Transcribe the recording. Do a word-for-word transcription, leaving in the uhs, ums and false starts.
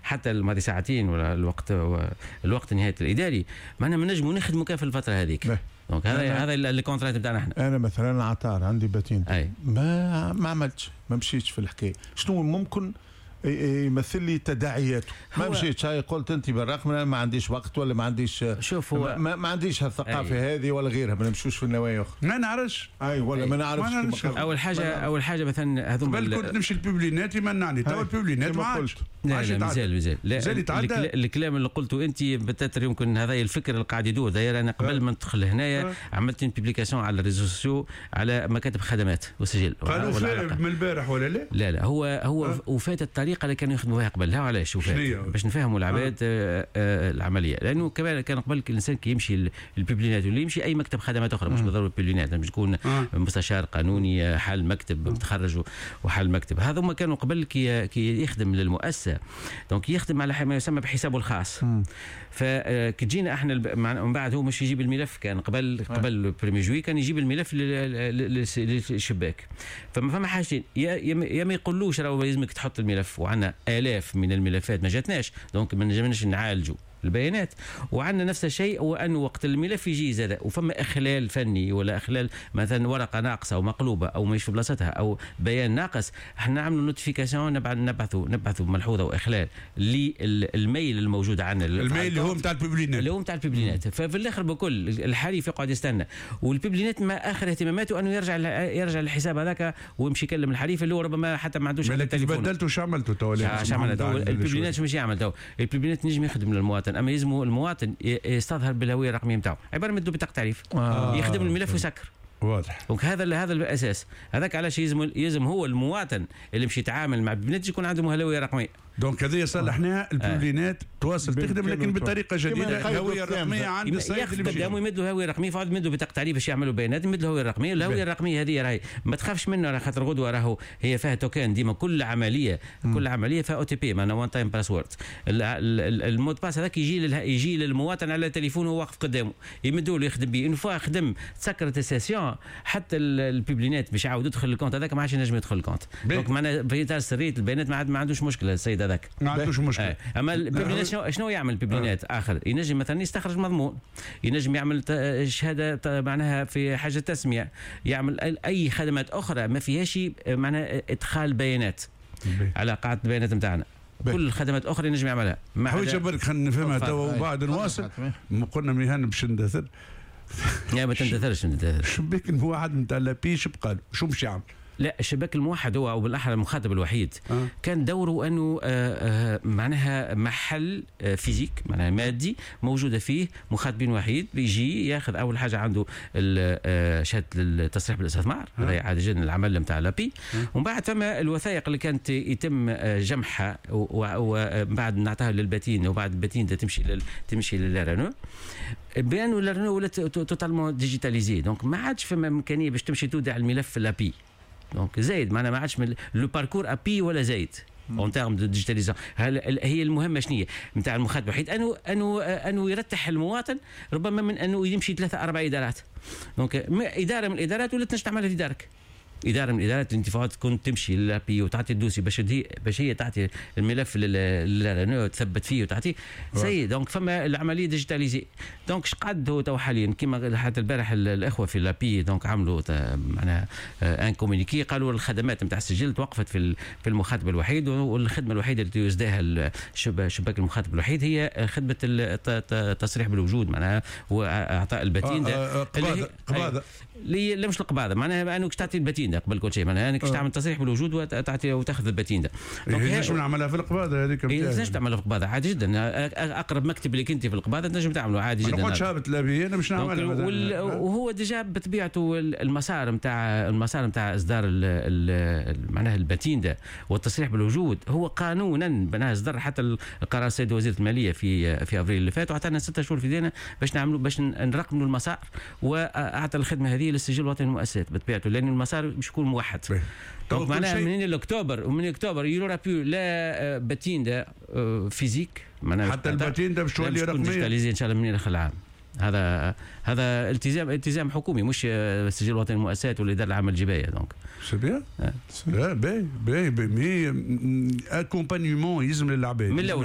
حتى الماضي ساعتين ولا الوقت الوقت نهاية الاداري، معناها ما نجموا نخدموا كان في الفترة هذيك. donc هذا هذا ال contrainte نتاعنا احنا. انا مثلا عطار عندي patente، أي. ما ما عملتش، ما مشيتش في الحكايه، شنو ممكن يمثل لي تداعياته؟ ما مشيتش، هاي قلت انت بالرقم ما عنديش وقت ولا ما عنديش، شوف هو ما, ما عنديش هالثقافه هذه ولا غيرها، ما نمشوش في النوايا اخرى. ما نعرفش. اي ولا ما نعرفش. اول حاجه اول حاجة مثلا هذوما قبل كنت نمشي ال Publinet يمنعني، تو ال Publinet ما عادش. لا لا، مازال مازال. لا، الكلام اللي قلته انت peut-être يمكن هذا الفكر اللي قاعد يدور داير. انا قبل ما ندخل هنايا عملت publication على les réseaux sociaux على مكاتب خدمات وسجل. قالوا من البارح ولا لا؟ لا لا، هو هو وفات الطريقة اللي كانوا يخدموا بها قبل. لا، علاش وفات؟ باش نفهموا العباد آه. آه العمليه، لانه كمان كان قبل الانسان كي يمشي ال Publinet ولا يمشي اي مكتب خدمات اخرى، مش بالضرورة ال Publinet، باش يكون آه. مستشار قانوني حال مكتب متخرج وحال مكتب، هذا ما كانوا قبل كي كي يخدم للمؤسسه، donc يخدم على ما يسمى بحسابه الخاص. فكي تجينا احنا من بعد هو مش يجيب الملف، كان قبل قبل premier juillet كان يجيب الملف للشباك. فما فما حاجتين: يا ما يقولوش راهو لازمك تحط الملف، وعندنا الاف من الملفات ما جاتناش، donc ما نجمناش نعالجوا البيانات. وعندنا نفس الشيء هو انه وقت الملف يجي زاد وفما اخلال فني ولا اخلال، مثلا ورقة ناقصه او مقلوبة او مش في بلاصتها او بيان ناقص، احنا نعملوا notification، نبعثوا نبعثوا ملحوظة واخلال لل mail الموجود عندنا. ال mail اللي هو نتاع ال Publinet. اللي هو نتاع ال Publinet. ففي الاخر بكل الحريف يقعد يستنى، وال Publinet ما اخر اهتماماته انه يرجع يرجع للحساب هذاك ويمشي يكلم الحريف اللي هو ربما حتى ما عندوش. التليفون بدلته، شو عملتوا تو؟ شو عملتوا ال Publinet؟ شو مش يعمل تو ال Publinet؟ نجم يخدم للمواطن، اما يلزم المواطن يستظهر بالهوية الرقمية نتاعو، عبارة مدو بطاقة تعريف آه. يخدم الملف ويسكر. واضح. donc هذا هذا الاساس هذاك علاش يلزم يلزم هو المواطن اللي مش يتعامل مع Publinet يكون عنده هوية رقميه. donc هذه صلحناها، ال Publinet تواصل تخدم لكن بطريقة جديده، الهوية الرقمية عند السيد اللي قدامه، يمد له هوية رقميه، فعاد يمد له بطاقة تعريف باش يعملوا بيانات، يمد له هوية رقميه. الهوية الرقمية هذه راهي ما تخافش منه، راه خاطر غدوه راهو هي فيها token ديما، كل عمليه كل عملية فيها OTP، معناها one time password. ال mot de passe هذاك يجي يجي للمواطن على تليفونه واقف قدامه، يمدوا له يخدم به. une fois خدم تسكرت ال session، حتى ال Publinet باش يعاود يدخل ال compte هذاك ما عادش ينجم يدخل ال compte. donc معناها في اطار سرية البيانات ما عاد ما عندوش مشكلة السيد هذاك. ما عندوش مشكله. آه. اما ال Publinet شنو يعمل ال Publinet آه. اخر ينجم مثلا يستخرج مضمون، ينجم يعمل شهادة معناها في حاجة تسميه، يعمل اي خدمات اخرى ما فيهاش معناها ادخال بيانات على قاعدة البيانات نتاعنا. كل الخدمات الاخرى ينجم يعملها. حويجه برك خلينا نفهمها توا وبعد نواصل. قلنا مهن باش ندثر. لا، ما تندثرش، ما شباك الموحد نتاع l'API شو بقى شو مش يعمل؟ لا، الشباك الموحد هو او بالاحرى المخاطب الوحيد أه. كان دوره انه آه، آه، معناها محل آه، physique، معناها مادي، موجودة فيه مخاطبين وحيد، بيجي ياخذ اول حاجة عنده شهادة التصريح بالاستثمار، هذا عادي جدا العمل نتاع l'API. ومن بعد فما الوثائق اللي كانت يتم جمعها ومن بعد نعطيها لل patente، وبعد ال patente تمشي لل تمشي لل RNE، بانه ال RNE ولات totalement digitalisée، donc ما عادش فما امكانية باش تمشي تودع الملف في l'API. donc زايد، معناها ما عادش le parcours API ولا زايد en termes de digitalisation. هي المهمة شنو هي نتاع المخاطب الوحيد؟ انه انه انه يرتح المواطن ربما من انه يمشي ثلاثة اربع ادارات. donc ادارة من الادارات ولات تنجم تعملها في دارك. ادارة من ادارات الانتفاعات كنت تمشي ل l'API وتعطي ال dossier باش هي باش هي تعطي الملف لل تثبت فيه وتعطيه ça y est. donc فما العملية digitalisée. donc اش قعد هو تو حاليا؟ كما حتى البارح الاخوة في l'API donc عملوا معناها un communiqué، قالوا الخدمات نتاع السجل توقفت في في المخاطب الوحيد، والخدمة الوحيدة اللي يسداها شباك المخاطب الوحيد هي خدمة التصريح بالوجود، معناها واعطاء ال patente. آه قباضه قباضه. لا، مش القباضه، معناها انك تعطي ال patente قبل كل شيء، معناها انك تعمل تصريح بالوجود وتعطي وتاخذ ال patente. نجم نعملها في القباضه هذيك؟ تنجم تعملها في القباضه عادي جدا، اقرب مكتب اللي كنت في القباضه تنجم تعمله عادي جدا. ما نقعدش هابط l'API انا باش نعملها. وال... وهو déjà بطبيعته المسار نتاع المسار نتاع اصدار معناها ال patente والتصريح بالوجود هو قانونا معناها اصدر حتى القرار السيد وزير المالية في في افريل اللي فات، وعطانا ستة شهور في دينا باش نعملوا باش نرقموا المسار، واعطى الخدمة هذه للسجل الوطني للمؤسسات بطبيعته، لان المسار باش يكون موحد. donc معناها من الاكتوبر ومن اكتوبر il y aura plus la patente physique. معناها حتى ال patente باش تولي رقميه. digitalisée ان شاء الله من اخر العام. هذا هذا التزام التزام حكومي، مش السجل الوطني للمؤسسات ولا الادارة العامة للجبايه donc. c'est bien، لا، باهي باهي، mais accompagnement يلزم للعباد. من الاول.